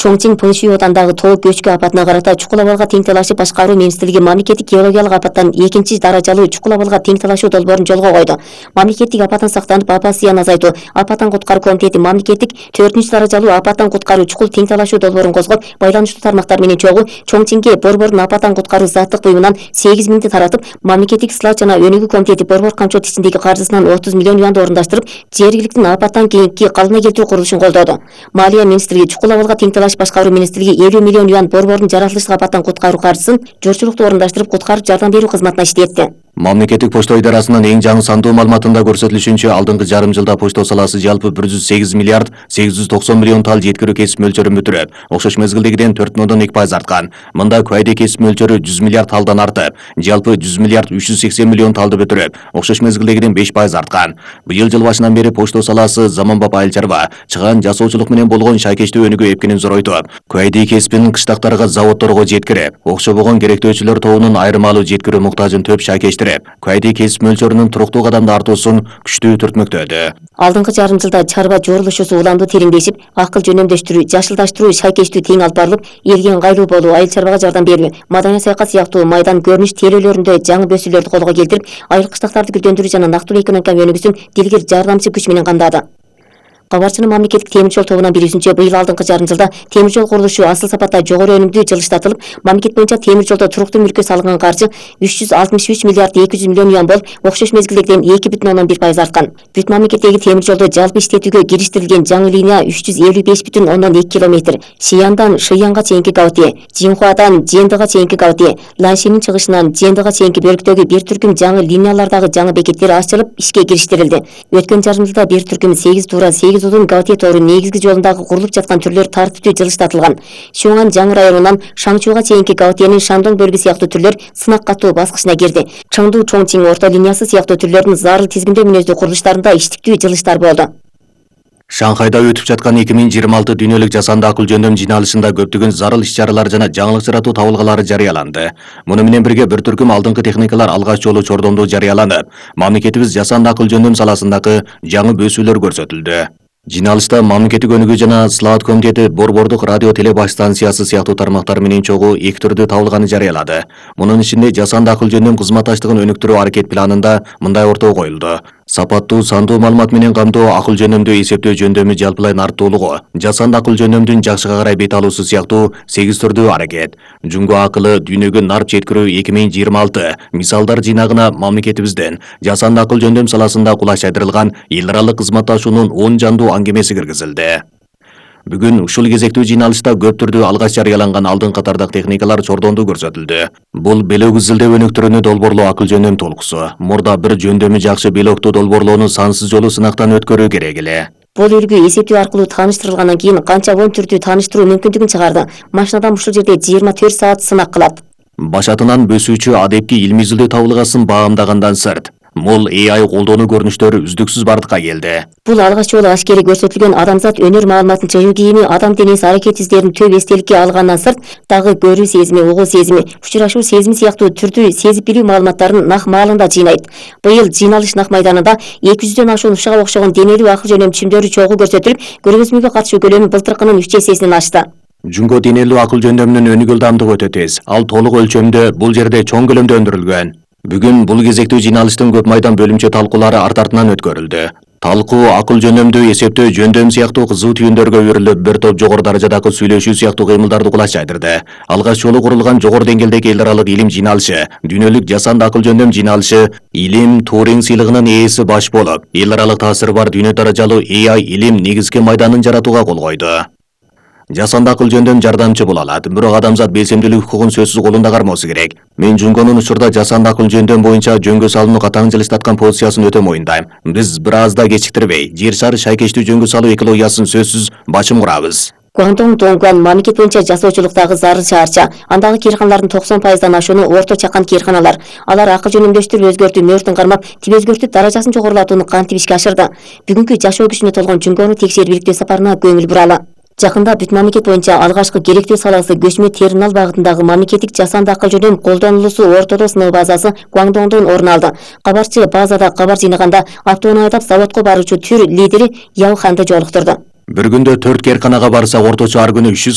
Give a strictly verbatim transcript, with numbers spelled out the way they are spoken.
Чоңчиң Пынши отандагы тоо көчкү апатына карата чукул абалга тең талашып башкаруу министрлиги мамлекеттик геологиялык апаттан экинчи даражалуу чукул абалга тең талашуу долбоорун жолго койду. Мамлекеттик апаттан сактанып апат зыянын азайтуу апаттан куткаруу комитети мамлекеттик төртүнчү даражалуу апаттан куткаруу чукул тең талашуу долбоорун козгоп, байланыштуу тармактар менен чогуу Чоңчиңге борбордун апаттан куткаруу заттык буюмунан сегиз миңди таратып, мамлекеттик сылат жана өнүгүү комитети борбор камчот ичиндеги каржысынан отуз миллион юанды орундаштырып, жергиликтин апаттан кийинки калыбына келтирүү курулушун колдоду. Малия министрлиги чукул абалга тең талаш башкаруу министрлиги элүү миллион юан борбордун жаратылыштык апаттан куткаруу каржысын жорчулукту орундаштырып, куткарып жардам берүү кызматына иштетти. Мамлекеттик почта идарасынын эң жаңы сандуу маалыматында көрсөтүлүшүнчө, алдыңкы жарым жылда почта саласы жалпы бир жүз сегиз миллиард сегиз жүз токсон миллион тал жеткирүү кесип мөлчөрүн бүтүрөп, окшош мезгилдегиден төрт бүтүн ондон эки пайыз арткан. Мында куайда кесип мөлчөрү жүз миллиард талдан артып, жалпы жүз миллиард үч жүз сексен миллион талды бүтүрөп, окшош мезгилдегиден беш пайыз арткан. Быйыл жыл башынан бери почта саласы заманбап айыл чарба, чыгаан жасоочулук менен болгон шайкечтүү өнүгүү эпкенин зоройтуп, куайда кесибинин кыштактарга, заводдорго жеткирип, окшобогон керектөөчүлөр тобунун айырмалуу жеткирүү муктажын төп шайкештирип, куайда кесип мөлчөрүнүн туруктуу кадамда артуусун күчтүү түртмөктөдү. Алдыңкы жарым жылда чарба жорулушусу уламдуу тереңдешип, акыл жөнөмдөштүрүү, жашылдаштыруу, шайкечтүү тең алып барылып, элге ыңгайлуу болуу, айыл чарбага жардам берүү, маданий саякат сыяктуу майдан көрүнүш тейлөөлөрүндө жаңы бөсүүлөрдү колго келтирип, айыл кыштактарды гүлдөндүрүү жана нактылуу экономика өнүгүүсүн дилгир жардамчы күч менен камдады. Кабарчынын мамлекеттик темир жол тобунан билүүсүнчө, быйыл алдыңкы жарым жылда темир жол курулушу асыл сапатта жогору өнүмдүү жылыштатылып, мамлекет боюнча темир жолдо туруктуу мүлккө салынган каржы үч жүз алтымыш үч миллиард эки жүз миллион юан болуп, окшош мезгилдегиден эки бүтүн ондон бир пайыз арткан. Бүт мамлекеттеги темир жолдо жалпы иштетүүгө кириштирилген жаңы линия үч жүз элүү беш бүтүн ондон эки километр, Шияндан Шыянга чейинки Гаути, Жинхуадан Жендыга чейинки Гаути, Ланшинин чыгышынан Жендыга чейинки бөлүктөгү бир түркүм жаңы линиялардагы жаңы бекеттер ачылып, ишке кириштирилди. Өткөн жарым жылда бир түркүм сегиз туура сегиз узун Гаути негизги жолундагы курулуп жаткан түрлөр тартиптүү жылыштатылган. Шуңан жаңы районунан Шаңчууга чейинки Гаутиянын Шандон бөлүгү сыяктуу түрлөр сынак катуу баскычына кирди. Чыңдуу Чоңчиң орто линиясы сыяктуу түрлөрдүн зарыл тизгиндөө мүнөздүү курулуштарында иштиктүү жылыштар болду. Шанхайда өтүп жаткан эки миң жыйырма алты дүйнөлүк жасанды акыл жөндөм жыйналышында көптөгөн зарыл иш-чаралар жана жаңылык жаратуу табылгалары жарыяланды. Муну менен бирге бир түркүм алдыңкы техникалар алгач жолу чордондо жарыяланып, мамлекетибиз жасанды акыл жөндөм саласындагы жаңы бөсүүлөр көрсөтүлдү. Жиналышта мамлекеттик өнүгүү жана сылаат комитети борбордук радио телебаш станциясы сыяктуу тармактар менен чогуу эки түрдүү табылганы жарыялады. Мунун ичинде жасанды акыл жөндөм кызматташтыгын өнүктүрүү аракет планында мындай ортого коюлду: сапаттуу сандуу маалымат менен камтоо, акыл жөнөмдүү эсептөө жөндөмү жалпылайн арттуулугу, жасанды акыл жөндөмдүн жакшыга карай бет алуусу сыяктуу сегиз түрдүү аракет. Жунго акылы дүйнөгө нарп жеткирүү эки миң жыйырма алты мисалдар жыйнагына мамлекетибизден жасанды акыл жөндөм саласында кулаш айдырылган эл аралык кызматташуунун он жандуу аңгемеси киргизилди. Бүгүн ушул кезектүү жыйналышта көп түрдүү алгач жарыяланган алдын катардагы техникалар чордондо көрсөтүлдү. Бул белок изилдөө өнүктүрүүнү долбоорлоо акыл жөндөм толкусу. Мурда бир жөндөмү жакшы белокту долбоорлоону сансыз жолу сынактан өткөрүү керек эле. Бул үлгү эсептөө аркылуу тааныштырылгандан кийин канча он түрдүү тааныштыруу мүмкүндүгүн чыгарды. Машинадан ушул жерде жыйырма төрт саат сынак кылат. Башатынан бөсүүчү адепки илми изилдөө табылгасын баамдагандан сырт, мол A I колдонуу көрүнүштөрү үздүксүз бардыкка келди. Бул алгач жолу ашкери көрсөтүлгөн адамзат өнөр маалыматын чыгуу кийими, адам денеси аракет издерин төп эстеликке алгандан сырт, дагы көрүү сезими, угуу сезими, учурашуу сезими сыяктуу түрдүү сезип билүү маалыматтарын нак маалында жыйнайт. Быйыл жыйналыш нак майданында эки жүздөн ашуун ушуга окшогон денелүү акыл жөнөм чимдөрү чогуу көрсөтүлүп, көргөзмөгө катышуу көлөмү былтыркынын үч эсесинен ашты. Жунго денелүү акыл жөндөмүнүн өнүгүү ылдамдыгы өтө тез. Ал толук өлчөмдө, бул жерде чоң көлөмдө өндүрүлгөн. Бүгүн бул кезектүү жыйналыштын көп майдан бөлүмчө талкуулары арт артынан өткөрүлдү. Талкуу акыл жөнөмдүү эсептөө жөндөм сыяктуу кызуу түйүндөргө өрүлүп, бир топ жогору даражадагы сүйлөшүү сыяктуу кыймылдарды кулаш айдырды. Алгач жолу курулган жогору деңгээлдеги эл аралык илим жыйналышы, дүйнөлүк жасанды акыл жөндөм жыйналышы Илим Туринг сыйлыгынын ээси баш болуп, эл аралык таасири бар дүйнө даражалуу A I илим негизги майданын жаратууга кол койду. Жасанды акыл жөндөм жардамчы боло алат, бирок адамзат белсемдүүлүк укугун сөзсүз колунда кармоосу керек. Мен Жунгонун учурда жасанды акыл жөндөм боюнча жөнгө салууну катаң жылыштаткан позициясын өтө моюндайм. Биз бир аз да кечиктирбей, жер шары шайкечтүү жөнгө салуу экологиясын сөзсүз башым курабыз. Гуандong Донгуан мамлекет боюнча жасоочулуктагы зарыл шаарча. Андагы кыйрканалардын токсон пайыздан ашууну орто чакан кыйрканалар. Алар акыл жөнөмдөштүрүп өзгөртүү мөөртүн кармап, тип өзгөртүү даражасын жогорулатууну кантип ишке ашырды. Бүгүнкү жашоо күчүнө толгон Жунгону текшерип иликтөө сапарына көңүл буралы. Жакында бүт мамлекет боюнча алгачкы керектүү саласы көчмө терминал багытындагы мамлекеттик жасанды акыл жөнөм колдонулуусу ортодо сыноо базасы Гуандоңдон орун алды. Кабарчы базада кабар жыйнаганда автоунаа айдап заводко баруучу түр лидери Яо Ханды жолуктурду. Bir günde төрт керканага барса орточо ар күнү үч жүз